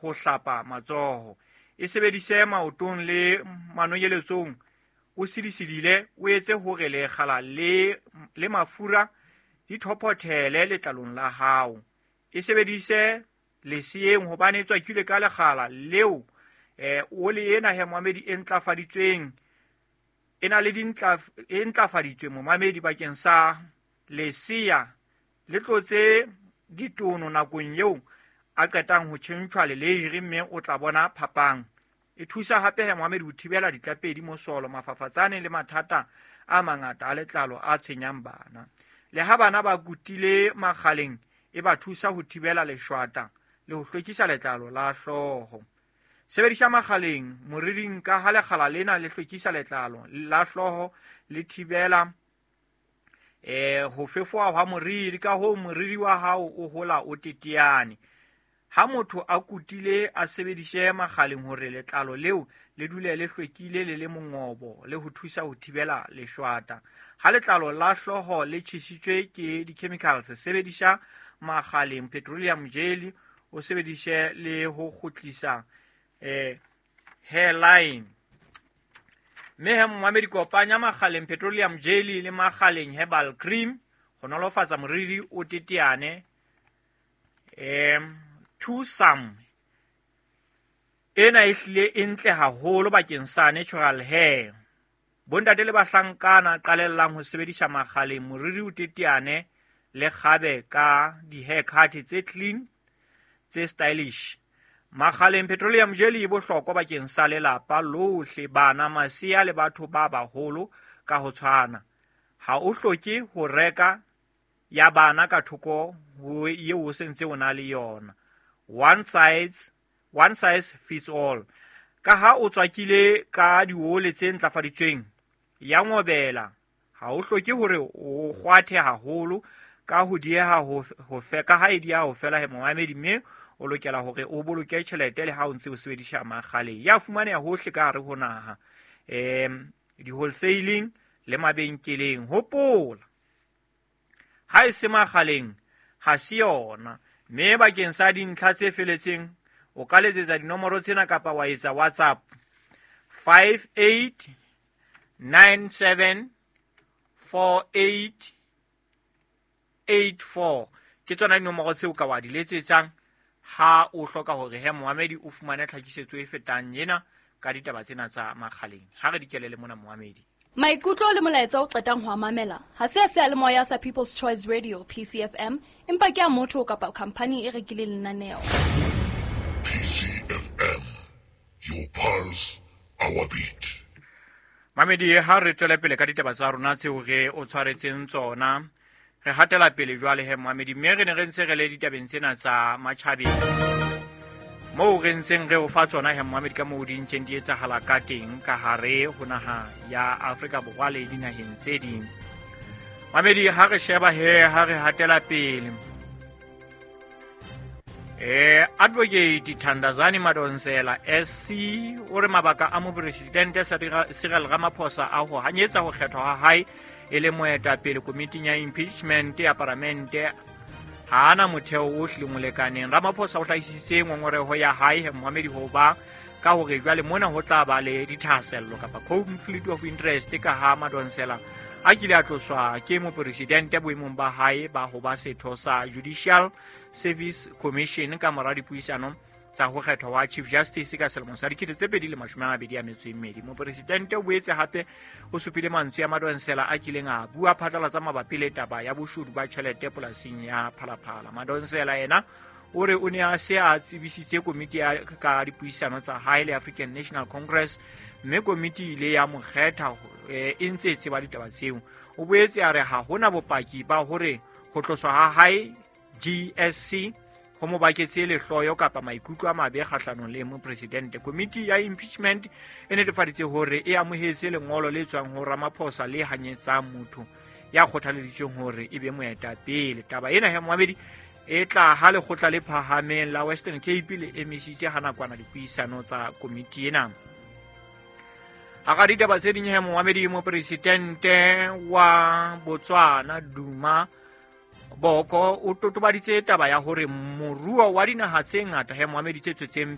Ho hlapa matsoho. E sebedise maotong le manonyeletsong o sidisidile, o etse hore lekgala le le mafura di thophothele letlalong la hao. E sebedise leseeng hobane e tswakilwe ka lekgala leo. Ole ena he momamedi e ntlafaditsweng e na le dintla e ntlafaditswe momamedi bakeng sa lesea le tlotse ditono nakong eo a qetang ho tjhentjhwa leleiri mme o tla bona phapang. E thusa hape he momamedi ho thibela ditlapedi, mosolo, mafafatsane le mathata a mangata a letlalo a tshwenyang bana. Le ha bana ba kutile makgaleng, e ba thusa ho thibela leshwata le ho hlwekisa letlalo la hlooho. Sebedisa makgaleng moriring ka ha lekgala lena le hlwekisa letlalo la hlooho le thibela ho fefoha hwa moriri, ka hoo moriri wa hao o hola o teteane. Ha motho a kutile a sebedise makgaleng hore letlalo leo le dule le hlwekile le le mongobo le ho thusa ho thibela leshwata. Ha letlalo la hlooho le tjhesitswe ke di-chemicals, sebedisa makgaleng petroleum jelly, o sebedise le ho kgutlisa hairline. Mme he momamedi, kopanya makgaleng petroleum jelly le makgaleng herbal cream ho nolofatsa moriri o teteane. Twosome ena e hlile e ntle haholo bakeng sa natural hair. Bontate le bahlankana qalellang ho sebedisa makgaleng moriri o teteane le kgabe ka di-haircut tse clean tse stylish. Makgaleng petroleum jelly e bohlokwa bakeng sa lelapa lohle, bana, masea le batho ba baholo ka ho tshwana. Ha o hloke ho reka ya bana ka thoko ho eo o sentse o na le yona. One size fits all. Ka ha o tswakile ka diole tse ntlafaditsweng ya ngobela, ha o hloke hore o kgwathe haholo ka ho dieha ho fe ka ha e dieha ho fela he momamedi, mme o lokela hore o boloke tjhelete le ha o ntse o sebedisa makgaleng. Ya fumaneha hohle ka hare ho naha, di-wholesaling le mabenkeleng. Hopola, ha e se makgaleng ha se yona. Mme bakeng sa dintlha tse feletseng o ka letsetsa dinomoro tsena kapa wa etsa WhatsApp 58 97 48 84. Ke tsona dinomoro tseo ka wa di letsetsang ha o hloka hore he momamedi o fumane tlhakisetso e fetang ena ka ditaba tsena tsa makgaleng. Ha re di kelele mona momamedi. Maikutlo le molaetsa o qetang ho a mamela ha se a seyalemoya sa People's Choice Radio PCFM, empa ke a motho kapa khampani e rekileng lenaneo. PCFM, your pulse, our beat. Mamedi, ha re tswele pele ka ditaba tsa rona tseo re o tshwaretseng tsona, re hatela pele jwale he momamedi, mme re ne re ntse re le ditabeng tsena tsa matjhabeng moo re ntseng re o fa tsona he momamedi ka moo di ntseng di etsahala ka teng ka hare ho naha ya Afrika Borwa le dinaheng tse ding. Mamedi, ha re sheba he, ha re hatela pele, Advocate Thandazani Madonsela SC o re mabaka a mopresidente Cyril Ramaphosa a ho hanyetsa ho kgethwa ha hae e le moetapele komiting ya impeachment ya paramente ha ana motheo o hlileng o lekaneng. Ramaphosa o hlahisitse ngongoreho ya hae momamedi ho ba ka hore jwale mona ho tla ba le dithahasello kapa conflict of interest ka ha Madonsela a kile a tloswa ke mopresidente boemong ba hae ba ho ba setho sa Judicial Service Commission ka mora dipuisano tsa ho kgethwa wa Chief Justice ka selemo sa 2022. Mopresidente o boetse hape o supile mantswe a Madonsela a kileng a bua phatlalatsa mabapi le taba ya boshodu ba tjhelete polasing ya Phalaphala. Madonsela yena o re o ne a se a tsebisitse komiti ya ka dipuisano tsa hae le African National Congress, mme komiti ile ya mo kgetha e ntse e tseba ditaba tseo. O boetse a re ha hona bopaki ba hore ho tloswa ha hae GSC ho mo baketse lehloyo kapa maikutlo a mabe kgahlanong le mopresidente. Komiti ya impeachment e netefaditse hore e amohetse lengolo le tswang ho Ramaphosa le hanyetsang motho ya kgothaleditsweng hore e be moetapele. Taba ena he momamedi e tla ha lekgotla le phahameng la Western Cape le emisitse ha nakwana dipuisano tsa komiti ena. Hara ditaba tse ding he momamedi, mopresidente wa Botswana Duma Boko o totobaditse taba ya hore moruo wa dinaha tse ngata he moamedi tse tswetseng